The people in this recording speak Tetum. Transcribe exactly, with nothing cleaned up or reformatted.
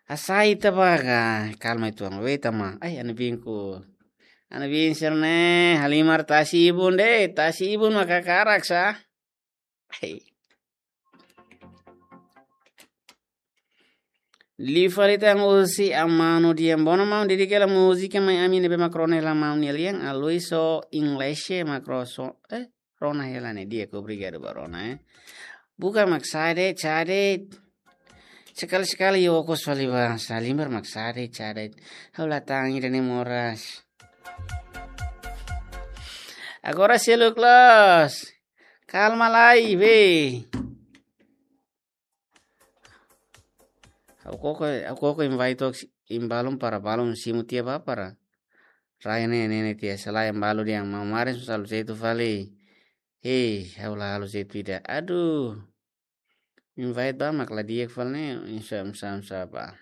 Hasai ita ba ka, kalma ituan, wait ama. Ai, ana bin ku. Ana bin sira ne'e, halimar tasi ibun de'it, tasi ibun maka karak sa. Ai. Liu fali tan husi Amano Dian. Bona maun, dedika hela múzika mai ami ne'ebé mak rona hela maun nia lian, Aloysio English mak ro so, eh, rona hela ne'e di'ak, obrigadu ba rona, eh. Buka mak sa'e de'it, sa'e de'it. Sekali-sekali ikus fali ba, halimar mak sa'e de'it, sa'e de'it. Ha'u la tan ida-ne'e moras. Agora selu close. Kalma lai, be. Ha'u koko, ha'u koko invite tok si-, im balun para balun simu tiha ba para. Rai ne'e, ne'e, ne'e tiha selain balu dia mamarin susah lu setu fali. Hei, ha'u la halo setu ida. Aduh. Invite ba mak la di'ak fali ne'e, insya, insya, insya ba.